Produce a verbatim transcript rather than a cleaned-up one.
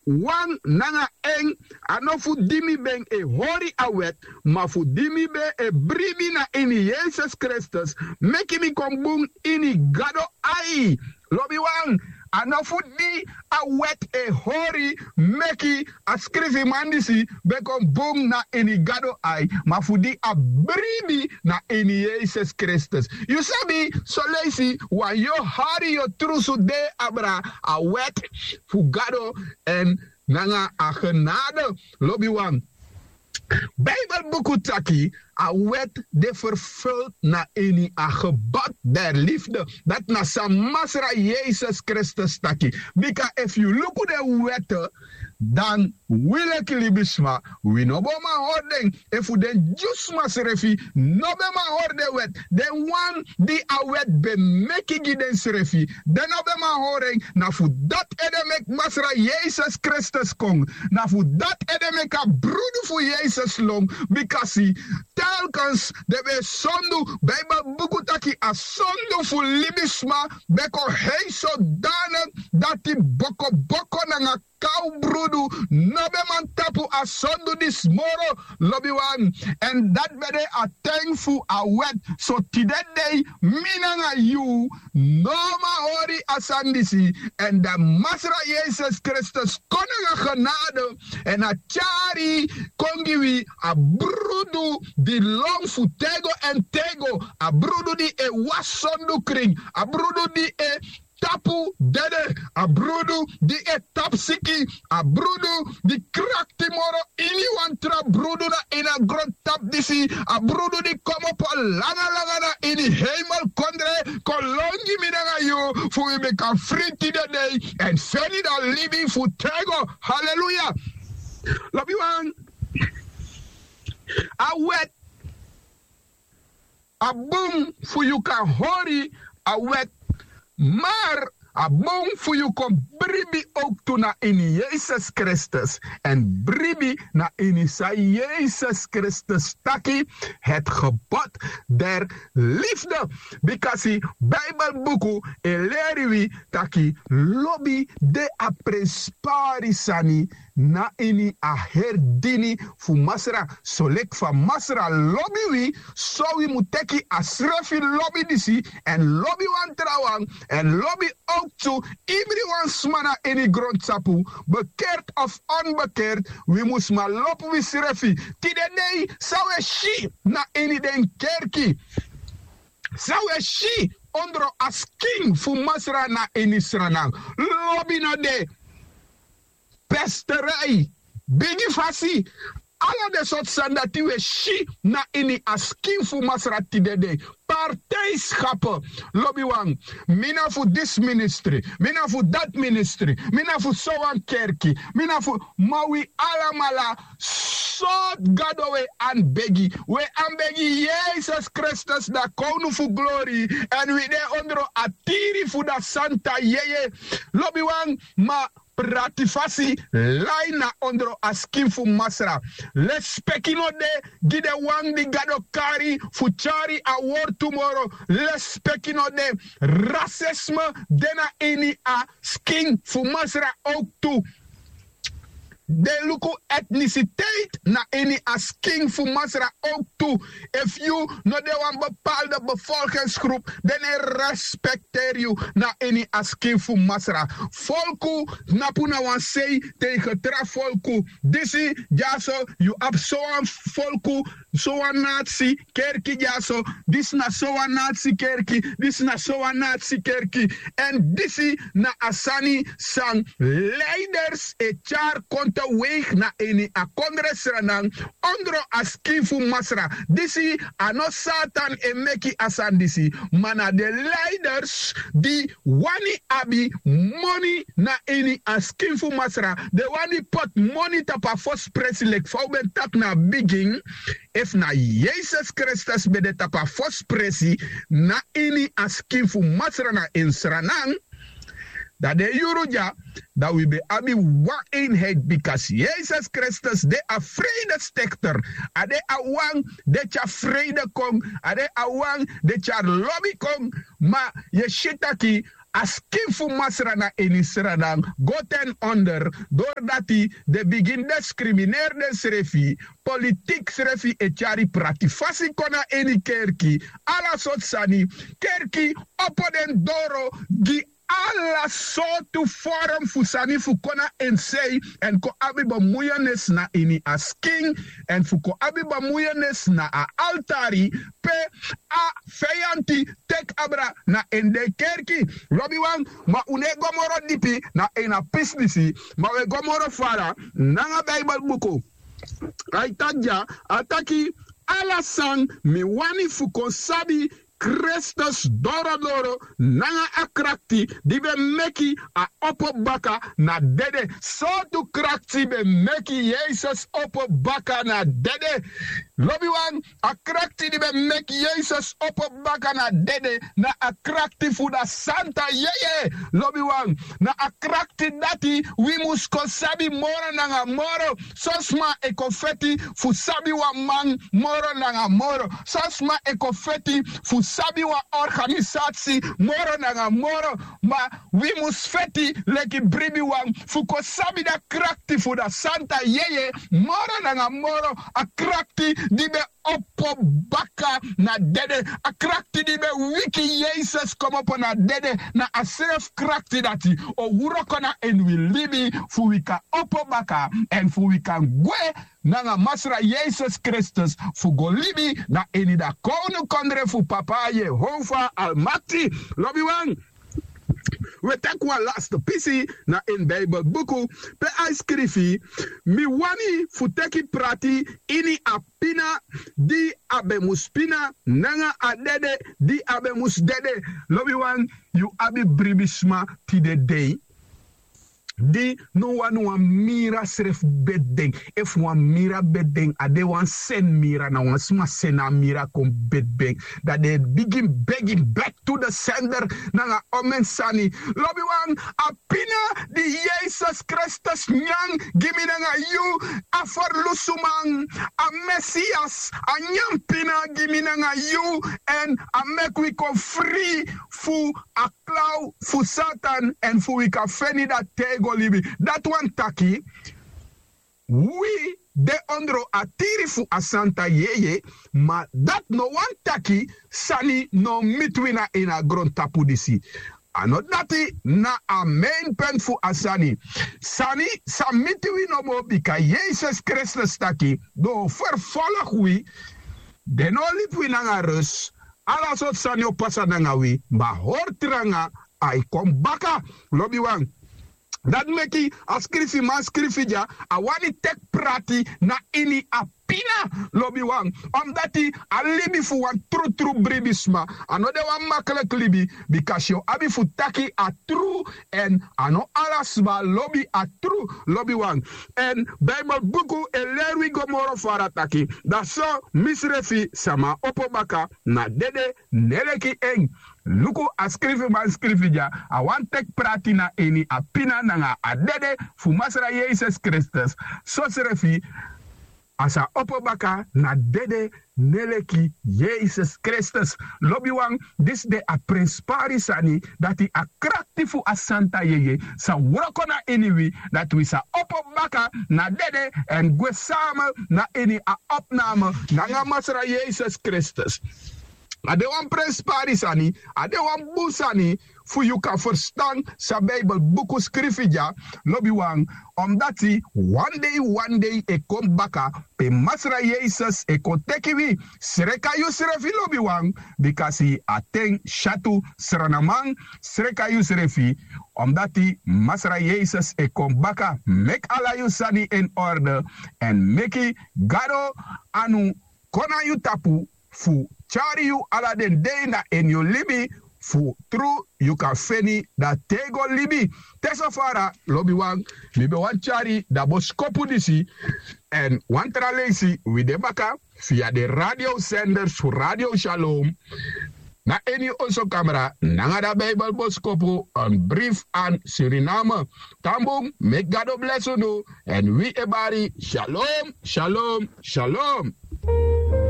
wan nanga en, a no fu di mi ben e hori a wet, ma fu di mi ben e bribi na ini Yesus Kristus, meki mi kon bun ini Gado ai. Lobiwan, a no fu di a wet e hori meki a skrifiman disi ben kon bun na ini Gado ai, ma fu di a bribi na ini Yesus Kristus. Yu sabi, soleisi wan yu o hari yu o trusu de abra a wet fu Gado èn nanga a genade. Lobiwan, Bijbelbuku taki a wet de vervuld na ini a gebod der liefde. Dati na san Masra Yesus Kristus taki. Bika efu yu luku den wet, dan wi leki libisma, wi no bo man hori den. Efu den dyusma srefi no ben man hori den wet, den wan di a wet ben meki gi densrefi, den no ben man hori en. Na fu dati ede meki Masra Yesus Kristus kon. Na fu dati ede meki a brudu fu Yesus lon. Bikasi telkens den ben e sondu. Bijbelbuku taki a sondu fu libisma ben kon hei sodanig dati bokoboko nanga kaw brudu no ben man tapu a sondu disi moro. Lobiwan, èn dati ben de a ten fu a wet. So tide dei mi nanga yu no man hori a sani disi. Èn dan Masra Yesus Kristus kon nanga genade èn a tyari kon gi wi a brudu di lon fu tego èn tego, a brudu di e wasi sondu krin, a brudu di e tapu dede, a brudu di e tapu siki, a brudu di krakti moro ini wan tra brudu na ini a grontapu disi, a brudu di komopo langa langa na ini heimelkondre kon lon gi mi nanga yu fu wi ben kan fri tide dei èn feni dan libi fu tego. Haleluya. Lobiwan, a wet a bun fu yu kan hori a wet, mar a bun fu yu kon bribi owktu na ini Yesus Kristus èn bribi na ini san Yesus Kristus taki, het gebod der liefde. Bikasi Bijbelbuku e leri wi taki lobi de a prenspari sani na ini a heri dini fu Masra. Soleki fa Masra lobi wi, so wi mu teki a srefi lobi disi èn lobi wan trawan èn lobi owktu ibriwan sma na ini grontapu, bekerti of onbekerti, wi mus man lobi wi srefi. Tide dei san wi e si na ini den kerki, san wi e si ondro a skin fu Masra na ini Sranan, lobi no de. Pesterei, bigi fasi, ala den sortu sani dati wi e si na ini a skin fu Masra tide dei. Partijskapu. Lobiwan, mi na fu disi ministri, mi na fu dati ministri, mi na fu sowan kerki, mi na fu, ma wi alamala sortu Gado wi e anbegi. Wi e anbegi Yesus Kristus, da kownu fu glori, èn wi de ondro a tiri fu da santa yeye. Lobiwan, ma prati fasi lai na ondro a skin fu Masra. Lespeki no de gi den wan di Gado kari fu tyari a wortu moro. Lespeki no de. Rasisme de na ini a skin fu Masra owktu. Den luku etnisiteit na ini a skin fu Masra owktu. Efu yu no de wan bepaalde bevolkingsgroep, den no e respekteri yu na ini a skin fu Masra. Folku tnapu na wan sei tegen tra folku. Disi dyaso yu abi sowan folku, sowan natsi kerki dyaso. Disi na sowan natsi kerki, disi na sowan natsi kerki. Èn disi na a sani san leiders e tyari kon te weigi na ini a kondre Sranan, ondro a skin fu Masra. Disi a no Satan e meki a sani disi, ma na den leiders di wani abi moni na ini a skin fu Masra. Den wani poti moni tapu a fosi presi, leki fa un ben taki na a bigin. Efu na Yesus Kristus ben de tapu a fosi presi na ini a skin fu Masra na ini Sranan, dan den yuru dya, dan wi ben abi wan einheit, bikasi Yesus Kristus de a vredestichter. A de a wan di e tyari vrede kon, a de a wan di e tyari lobi kon. Ma yu e si taki a skin fu masra na ini sranan go ten onder, dori dati den bigin diskrimineeri densrefi. Politiki srefi e tyari prati fasi kon na ini kerki. Ala sortu sani. Kerki opo den doro gi ala sortu forum fu sani fu kon na en sei èn kon abi bemuyenes na ini a skin èn fu kon abi bemuyenes na a altari pe a feyanti teki abra na en den kerki. Lobiwan, ma un no e go moro dipi na ini a pisi disi, ma un e go moro fara nanga Bijbelbuku. A e taki dya, a taki ala san mi wani fu kon sabi Kristus dorodoro nanga a krakti di ben meki a opo baka na dede. Sortu krakti ben meki Yesus opo baka na dede? Lobiwan, a krakti di ben meki Yesus opo baka na dede na a krakti fu da santa yeye. Lobiwan, na a krakti dati wi mus kon sabi moro nanga moro. Son sma e kon feti fu sabi wan man moro nanga moro. Son sma e kon feti fu sabi wan organisasi moro nanga moro. Ma wi mus feti leki bribiwan fu kon sabi da krakti fu da santa yeye moro nanga moro. A krakti di ben opo baka na dede. A krakti di ben wiki Yesus komopo na dede na a srefi krakti dati o wroko na ini wi libi fu wi kan opo baka èn fu wi kan gwe nanga Masra Yesus Kristus fu go libi na ini da kownukondre fu Papa Yehova Almakti. Lobiwan, wi e teki wan laste pisi na ini Bijbelbuku pe a e skrifi: Mi wani fu teki prati ini a pina di a ben mus pina nanga a dede di a ben mus dede. Lobiwan, yu abi bribisma tide dei di no wani wan mira srefi beti den. Efu wan mira beti den, a de wan sen mira, na wan sma seni a mira kon beti den. Dan den e bigin begi bek tu de sender nanga omen sani. Lobiwan, a pina di Yesus Kristus nyan gi mi nanga yu, a ferlusuman, a Mesias, a nyan pina gi mi nanga yu èn a meki wi kon fri fu a klaw fu Satan èn fu wi kan feni da tego libi. Dati wani taki wi de ondro a tiri fu a santa yeye, ma dati no wani taki sani no miti wi na ini a grontapu disi. A no dati na a main penti fu a sani. Sani sa miti wi nomo bika Yesus Kristus taki den o ferfolgu wi, den no o libi wi nanga rus, ala sortu sani o pasa nanga wi, ma hori tranga, a e kon baka. Lobiwan, dati meki a skrifiman skrifi dya, a wani teki prati na ini a pina. Lobiwan, omdati a libi fu wan trutru bribisma a no de wan makliki libi, bikasi yu o abi fu taki a tru, èn a no ala sma lobi a tru. Lobiwan, èn Bijbelbuku e leri wi go moro fara taki: Da so misrefi, sama opo baka na dede, ne leki en. Luku, a skrifiman skrifi dya, a wani teki prati na ini a pina nanga a dede fu Masra Yesus Kristus. Sosrefi a sa opo baka na dede, ne leki Yesus Kristus. Lobiwan, disi de a prenspari sani, dati a krakti fu a santa yeye sa wroko na ini wi, dati wi sa opo baka na dede èn gwe sama na ini a opname nanga Masra Yesus Kristus. A de wan prenspari sani, a de wan bun sani fu yu kan ferstan san Bijbelbuku skrifi dya. Lobiwan, omdati wan dei wan dei e kon baka pe Masra Yesus e kon teki wi. Sreka yusrefi, lobiwan, bikasi a ten syatu. Sranaman, sreka yusrefi, omdati Masra Yesus e kon baka. Meki ala yu sani en orde èn meki Gado anu kon na yu tapu fu tyari yu ala den dei na ini yu libi, fu tru yu kan feni da tego libi. Te so fara, lobiwan, mi ben wani tyari da boskopu disi èn wan tra leisi wi de baka via den radiosenders fu Radio Shalom na ini oso kamra nanga da Bijbelboskopu, een brief aan Suriname. Tan bun, meki Gado blesi unu èn wi e bari shalom, shalom, shalom.